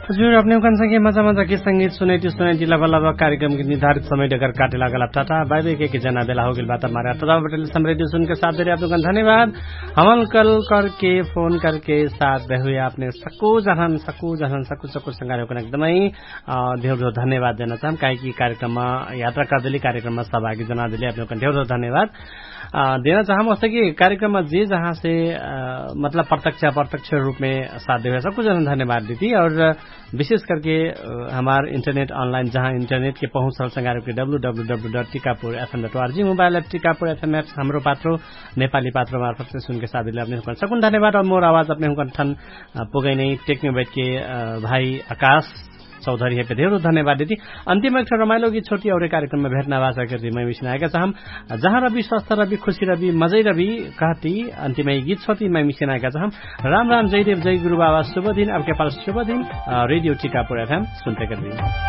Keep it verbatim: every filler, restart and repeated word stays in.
हजुर अपने हुकन संगे मजा मजा के संगीत सुनैती सुनैती लबा लबा कार्यक्रम के निर्धारित समय डगर काटे लागल अब टाटा बाइबे के के जना बेला होगेल बात अब मारे अटदा बटल समरेती सुनके साथ देरे अपने हुकन धन्यवाद। हमन कल करके फोन करके साथ देहुए अपने सकु जहन सकु जहन सकु सकु संगारे हुकन एकदमै धेर धन्यवाद देना चाहम काहे कि कार्यक्रम यात्रा कर देली कार्यक्रम सभागी जना देली अपने हुकन धेर धन्यवाद। देना चाहम ओसे कि कार्यक्रम जे जहाँ से मतलब प्रत्यक्ष प्रत्यक्ष रूपमे साथ देवे सकु जहन धन्यवाद देती और विशेष करके हमार इन्टरनेट अनलाइन जहाँ इन्टरनेट के पहुँच रहल संगार के W W W dot Tikapur FM dot R G mobile app Tikapur FM app Hamro Patro नेपाली पात्रो मार्फत से सुनके साथ दिले अपने हुकन सकुन धन्यवाद और मोर आवाज अपने हुकन ठन पुगै नै टेक्ने बैठ के भाई आकाश चौधरी है पे धेर धन्यवाद देती। अन्तिम एक रमाइलो गीत छोटी और कार्यक्रम में भेटना वासा करती मैं मिसिन आएका चाहम जहाँ रवि स्वस्थ रवि खुशी रवि मजै रवि कहती। अन्तिम गीत छोटी मैं मिसिन आएका चाहम राम राम जय देव जय गुरु बाबा शुभ दिन अब के पाल शुभ दिन। रेडियो टिकापुर एफएम सुनते करती।